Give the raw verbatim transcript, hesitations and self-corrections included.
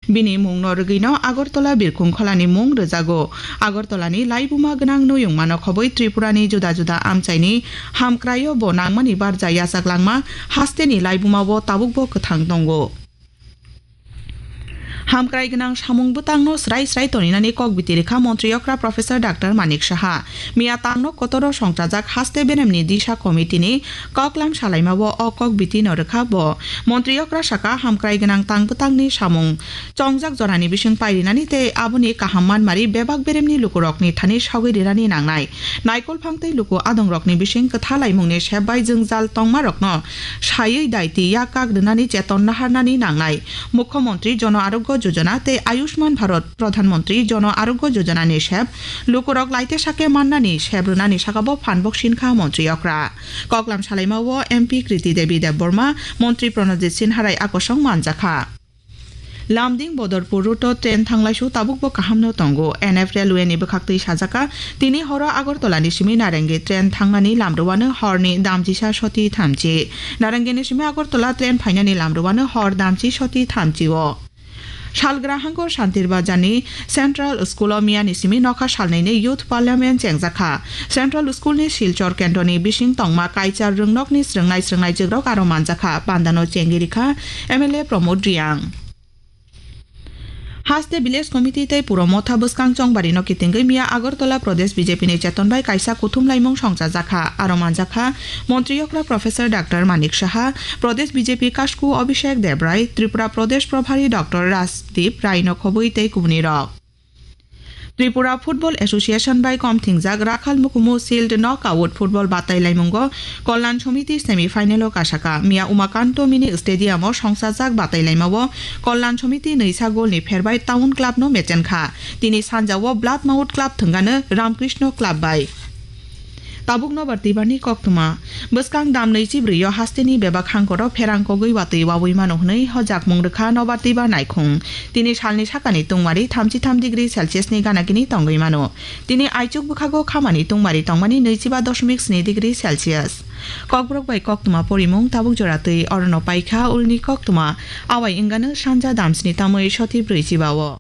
Bini mungno rwgwino Agartala birkhung kholani mung rwjago. Agartalani laibuma gwnang nuyungmano khobwi Tripurani juda juda amchaini hamkraio bo nangmani barja yachaklangma hasteni laibumao tabukbo kwthang tongo. Hamkrai gwnang samung bwtangno srai srai toninani kok biti rwkha Montri Okra Professor Doctor Manik Saha. Miya tangno kotoro songchajak haste beremni disa committee-ni koklam salaimao o kok biti no rwkha bo. Montri Okra saka, hamkrai gwnang tang bwtangni samung chongjak jorani bising pairinani tei aboni kaham manmari bebak beremni lukurokni thani sagwi rinani nangnai. Naikol phang tei luku adongrokni bising kwthalaimungni sep bai jwngjal tongmarokno saywi daiti yak kak rwnani cheton naharnani nangnai. Mukhyamantri Jono Arogyo Jojona tei Ayushman Bharat Pradhan Mantri Jono Arogyo Jojona ni sep lukurok laite sake mannani sep rwnani sakabo phan boksinkha Montri Okra. Koklam salaimao M P Kriti Devi Debbarma, Montri Pranajit Sinharai akosong manjakha. Lamding Bodorpur route-o train thanglaisu tabukbo kahamno tongo. N F Railway ni bwkhaktwi sajaka, tini horo Agartala ni simi Narengi train thangnani lamrwano horni damchisa soti thamchi. Narengi ni simi Agartala train phainani lamrwano hor damchi soti thamchi-o. Salgra hango Santir Bazar ni Central School o miya ni simi nokha salnwi ni Youth Parliament chengjakha. Central School ni Silchar kendro ni bising tongma kaichar rwngnok ni srwngnai srwngnai jigrok aro manjakha. Pandano chengwi rikha M L A Pramod Reang. Haste Village Committee tei Puro Motha bwskang chongbari no kitingwi miya Agartala Pradesh B J P ni cheton bai kaisa kuthum laimung songchajakha. Aro manjakha Montri Okra Professor Doctor Manik Saha, Pradesh B J P Kasku Abhishek Debrai, Tripura Pradesh Probhari Doctor Rajdeep Rai no khobwi tei kubuni rok. Tripura Football Association bai kom thingjak Rakhal Mukumu Shield Knockout Football batai laimungo Kalyan Samiti semi final o kasaka. Miya Umakanto Mini Stadium o songchajak batai laimao Kalyan Samiti nwisa goal ni pherbai Town Club no mechenkha. Tini sanjao Blood Mouth Club thwngano Ramkrishna Club bai. Tabuk nobar twibarni koktwma. Bwskang dam nwi chi brwi o hasteni bebak hangkoro pherang kogwi watwi wawi mano hwnwi hojakmung rwkha nobar twibar naikhung. Tini salni sakani tungmari thamchi tham degree Celsius ni ganagini tongwi mano. Tini aichuk bwkhago khamani tungmari tongmani nwichiba doshmik sni degree Celsius. Kokborok bai koktwma porimung tabuk jora twi orono paikha ulni koktwma. Awai wngano sanja damsni tamwi soti brwi chiba-o.